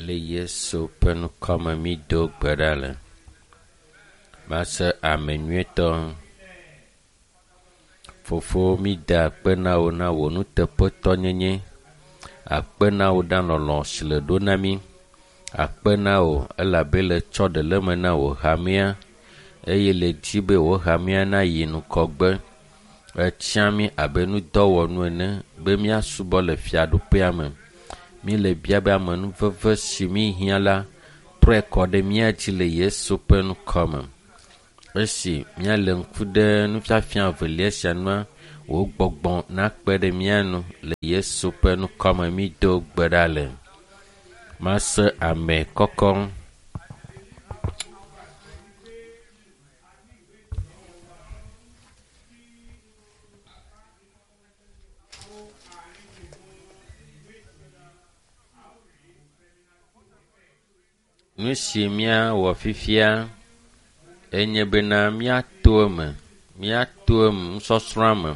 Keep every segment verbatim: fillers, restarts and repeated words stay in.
Le Yesu ƒe ŋkɔme mído gbe ɖa le. Mase ame nyuietɔ. Fofo mída akpe na wò na wò nuteƒetɔnyenye. Akpe na wò ɖe lɔlɔ̃ si le ɖo na mí. Akpe na wò elabe le tsɔ ɖe le eme na wò hamea eye le dzi be wò hamea nayi ŋgɔgbe. Etsia mí abe nudɔwɔnu ene be míasubɔ le fiaɖuƒea me. Míle bia be amenuveve si míhiã la trɔe kɔ ɖe mía dzi le Yesu ƒe ŋkɔme. Esi míale ŋku ɖe nufiafia evelia sia nua, wò gbɔgbɔ nakpe ɖe mía nu le Yesu ƒe ŋkɔme mído gbe ɖa le. Mase ame kɔkɔ. Nu si míawɔ fifia enye bena míato eme, míato eme nusɔsrɔ̃a me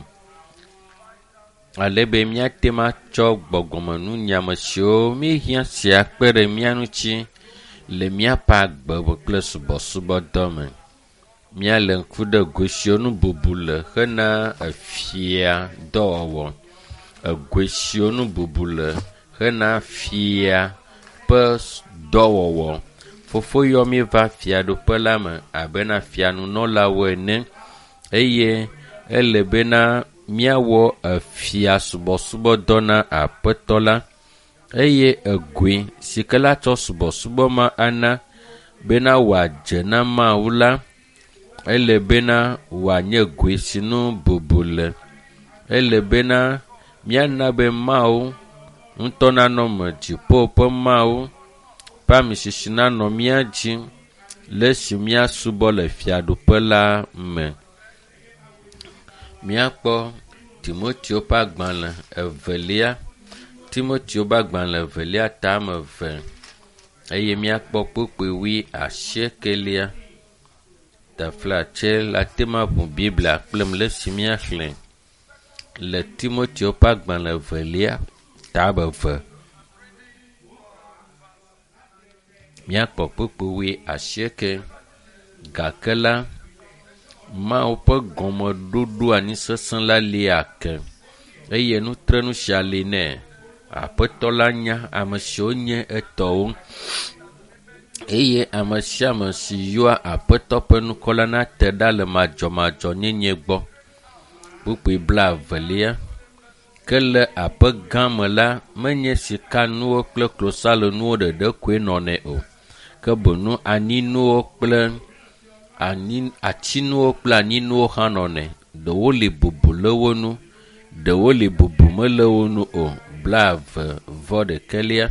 ale be míate ŋu atsɔ gbɔgbɔmenunyame siwo míehiã sia kpe ɖe mía ŋuti le míaƒe agbe me kple subɔsubɔdɔ me. Míale ŋku ɖe go siwo nu bubu le hena efia dɔwɔwɔ. Egoe siwo nu bubu le hena fia ƒe dɔwɔwɔ. Fofo yɔ mí va fiaɖuƒe la me abena fianunɔlawo ene eye ele bena míawɔ efia subɔsubɔdɔ na aƒetɔ la eye egoe si ke la tsɔ subɔsubɔ ma ana bena wòadze na Mawu la, ele bena wòanye goe si nu bubu le. Ele bena míana be Mawu ŋutɔ nanɔ me, dziƒo ƒe Mawu ƒe amisisi nanɔ mía dzi le esi míasubɔ le fiaɖuƒe la me. Míakpɔ Timoteo ƒe agbalẽ evelia, Timoteo ƒe agbalẽ evelia tame eve eye míakpɔ kpukpui wui asiekelia. Taflatse la te ŋu aʋu Biblia kplim le esi míaxlẽ le Timoteo ƒe agbalẽ evelia tame eve. Míakpɔ kpukpui wui asieke. Gake la, Mawu ƒe gɔmeɖoɖo anyi sesẽ la li ake eye nutrenu sia li nɛ. Aƒetɔ la nya ame siwo nye etɔwo eye ame sia ame si yɔa Aƒetɔ ƒe ŋkɔ la nate ɖa le madzɔmadzɔnyenye gbɔ. Kpukpui blaevelia. Ke le aƒe gã me la, menye sikanuwo kple klosalonuwo ɖeɖe koe nɔnɛ o, ke boŋ anyinuwo kple anyi atinuwo kple anyinuwo hã nɔnɛ. Ɖewo li bubu le wo ŋu, ɖewo li bubu mele wo ŋu o. Blaeve vɔ ɖekɛlia.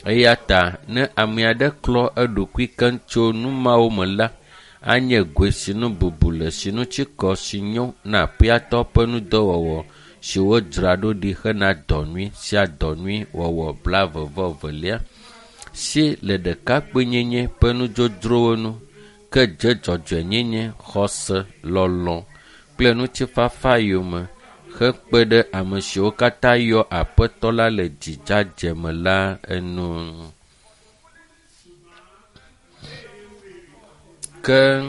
Eya ta ne ame aɖe klɔ eɖokui keŋ tso nu mawo me la, anye goe si nu bubu le si ŋuti kɔ si nyo na aƒeatɔ ƒe nudɔwɔwɔ si wodzra ɖo ɖi hena dɔ nyui sia dɔ nyui wɔwɔ. Blaeve vɔ evelia. Si le ɖekakpuinyenye ƒe nudzodzrowo nu ke dze dzɔdzɔenyenye, xɔse, lɔlɔ̃ kple ŋutifafa yome hekpe ɖe ame siwo katã yɔ Aƒetɔ la le dzidzadze me la enu. Ke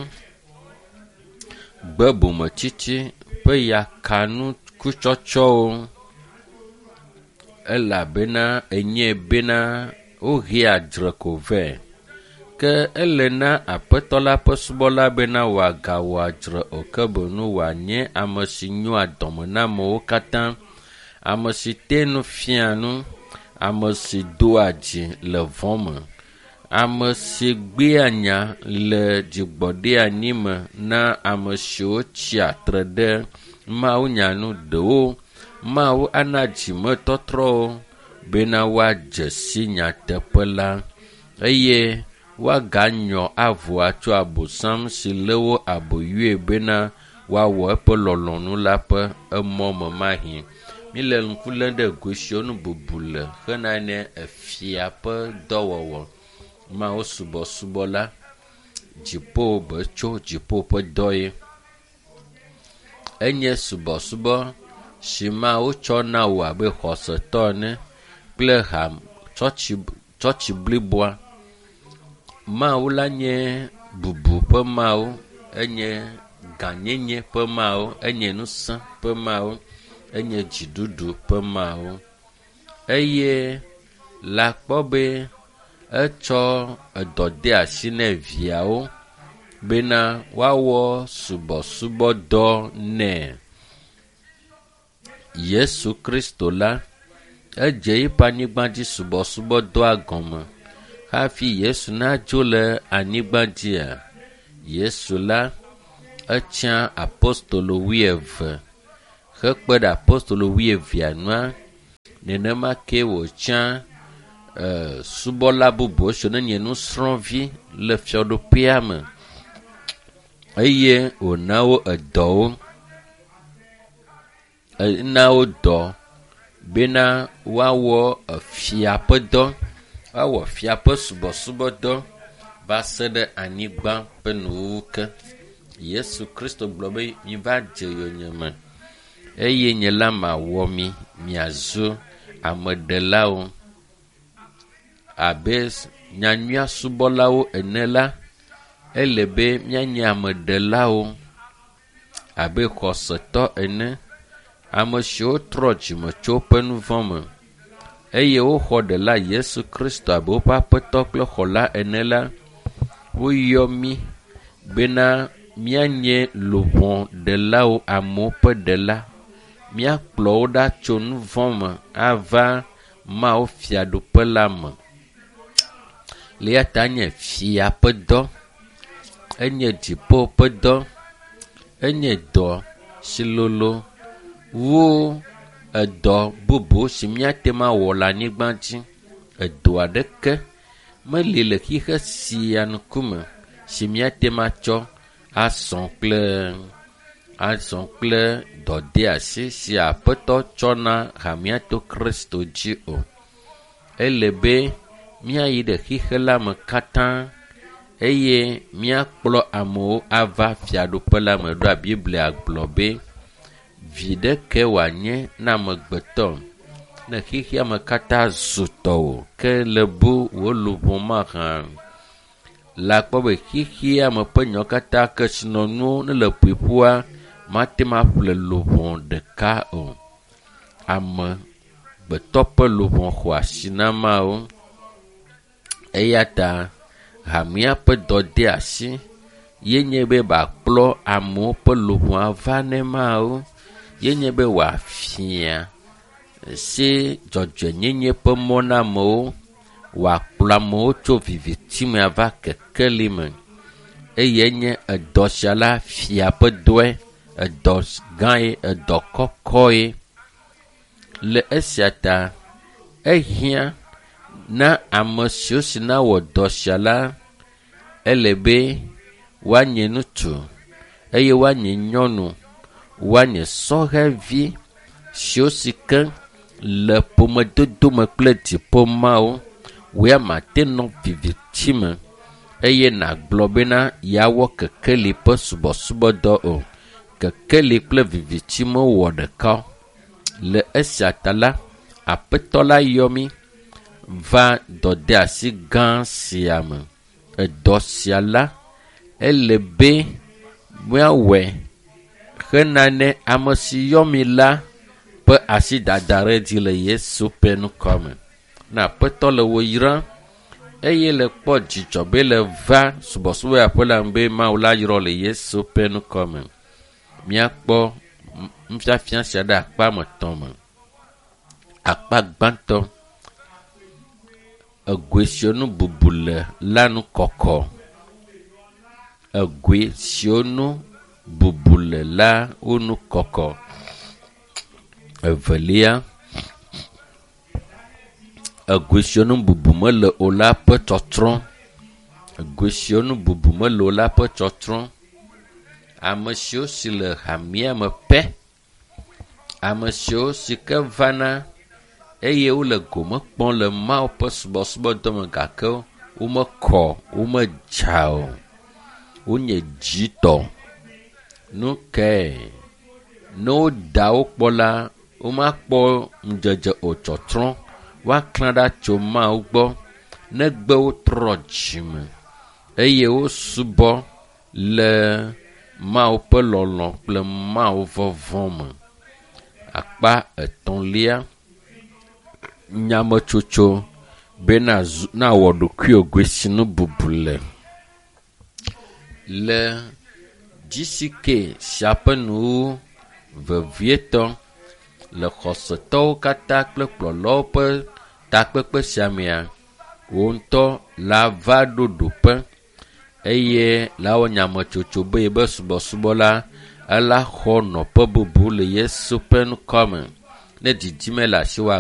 gbe bometsitsi ƒe yakanukutsɔtsɔwo elabena enyae bena wohea dzre ko vɛ. Ke ele na Aƒetɔ la ƒe subɔla bena wòagawɔ adzre o ke boŋ wòanye ame si nyoa dɔme na amewo katã, ame si te nu fiaa nu, ame si doa dzi le vɔ̃ me, ame si gbea nya le dzigbɔɖianyi me na ame siwo tsia tre ɖe mawunya nu ɖewo. Mawu ana dzimetɔtrɔwo bena woadze si nyateƒe la eye woaganyɔ avu atso abosam si lé wo aboyoe bena woawɔ eƒe lɔlɔ̃nu la ƒe emɔ me mahĩ. Míle ŋku lém ɖe go siwo nu bubu le hena ne efia ƒe dɔwɔwɔ. Mawu subɔsubɔ la, dziƒo be tso dziƒo ƒe dɔ ye. Enye subɔsubɔ si Mawu tsɔ na wò abe xɔsetɔ ene kple ha tsɔtsi Tsɔtsi bliboa. Mawu la nye bubu ƒe Mawu, enye gãnyenye ƒe Mawu, enye ŋusẽ ƒe Mawu, enye dziɖuɖu ƒe Mawu. Eye le akpɔ be etsɔ edɔ de asi ne viawo bena woawɔ subɔsubɔdɔ nɛ. Yesu Kristo la, edze eƒe anyigba dzi subɔsubɔdɔa gɔme hafi Yesu nadzo le anyigba dzia. Yesu la, etsã apostolo wuieve hekpe ɖe apostolo wuievea nua, nenema ke wòtsã e, subɔla bubuwo siwo nenye nusrɔ̃vi le fiaɖuƒea me eye wòna wo edɔwo. Ena wo dɔ bena woawɔ efia ƒe dɔ, woawɔ fia ƒe subɔsubɔdɔ va se ɖe anyigba ƒe nuwuwu ke. Yesu Kristo gblɔ be miva dze yonyeme eye nye la mawɔ mi miazu ameɖelawo. Abe nyanyuia subɔlawo ene la, ele be míanye ameɖelawo abe xɔsetɔ ene, ame siwo trɔ dzime tso woƒe nu vɔ̃ me eye woxɔ ɖela Yesu Kristo abe woƒe aƒetɔ kple xɔla ene la, woyɔ mí bena míanye luʋɔ ɖelawo, amewo ƒe ɖela. Míakplɔ wo ɖa tso nu vɔ̃ me ava Mawu fiaɖuƒe la me. Le eya ta nye fia ƒe dɔ, enye dziƒo ƒe dɔ, enye dɔ si lolo wu edɔ bubu si míate ŋu awɔ le anyigba dzi. Edɔ aɖeke meli le xixe sia ŋkume si míate ŋu atsɔ asɔ kple azɔ kple dɔdeasi si Aƒetɔ tsɔ na hamea to Kristo dzi o. Ele be míayi ɖe xixe la me katã eye míakplɔ amewo ava fiaɖuƒe la me ɖoa Biblia gblɔ be viɖe ke wòanye na amegbetɔ ne xexea me katã zu tɔwò ke le bu wò luʋɔ mahã. Le akpɔ be xexea me ƒe nyawo katã kesinɔnuwo ne le ƒoƒua mate ŋu aƒle luʋɔ ɖeka o. Amegbetɔ ƒe luʋɔ xɔ asi na Mawu. Eya ta hamea ƒe dɔdeasi ye nye be wòakplɔ amewo ƒe luʋɔ ava ne Mawu. Ye nye be wòafia si dzɔdzɔenyenye ƒe mɔ na amewo, wòakplɔ amewo tso viviti me ava kekeli me. Eye nye edɔ sia la fia ƒe dɔe, edɔ gãe, edɔ kɔkɔe. Le esia ta ehiã na ame siwo si nawɔ dɔ sia la, ele be woanye ŋutsu eye woanye nyɔnu, woanye sɔhɛvi siwo si ke le ƒomedodo me kple dziƒo Mawu. Wò ya mate nɔ viviti me eye nàgblɔ bena yeawɔ kekeli ƒe subɔsubɔdɔ o. Kekeli kple viviti mewɔ ɖeka o. Le esia ta la, Aƒetɔ la yɔ mí va dɔdeasi gã sia me. Edɔ sia la, ele be míawɔe hena ne ame si yɔ mí la ƒe asi dada ɖe dzi le Yesu ƒe ŋkɔ me. Ne Aƒetɔ le wò yram eye le kpɔ dzidzɔ be le va subɔsubɔyaƒe la me be Mawu la yrɔ le Yesu ƒe ŋkɔ me. Míakpɔ nufiafia sia ɖe akpa me etɔ̃ me. Akpa gbãtɔ, egoe siwo nu bubu le la nu kɔkɔ. Egoe siwo nu bubu le la wo nu kɔkɔ. Evelia, egoe siwo nu bubu mele o la ƒe tsɔtsrɔ̃. Egoe siwo nu bubu mele o la ƒe tsɔtsrɔ̃. Ame siwo si le hamea me pɛ, ame siwo si ke vana eye wole gome kpɔm le Mawu ƒe subɔsubɔdɔ me gake womekɔ, womedza o. Wonye dzitɔ. Nu kae? Ne woda wo kpɔ la, womakpɔ ŋudzedze o tsɔtsrɔ̃. Woaklã ɖa tso Mawu gbɔ. negbe wotrɔ dzime eye wosubɔ le Mawu ƒe lɔlɔ̃ kple Mawu vɔvɔ̃ me. Akpa etɔ̃lia, nyametsotso be nawɔ ɖokuiwò goesinu bubu le. Le GCK sia ƒe nuwuwu vevietɔ le xɔsetɔwo katã kple kplɔlawo ƒe takpekpe sia mea, wò ŋutɔ la va ɖo ɖoƒe eye la wɔ nyametsotso be yebe subɔsubɔ la ela xɔ nɔƒe bubu le Yesu ƒe ŋkɔ me. Ne didime le asiwò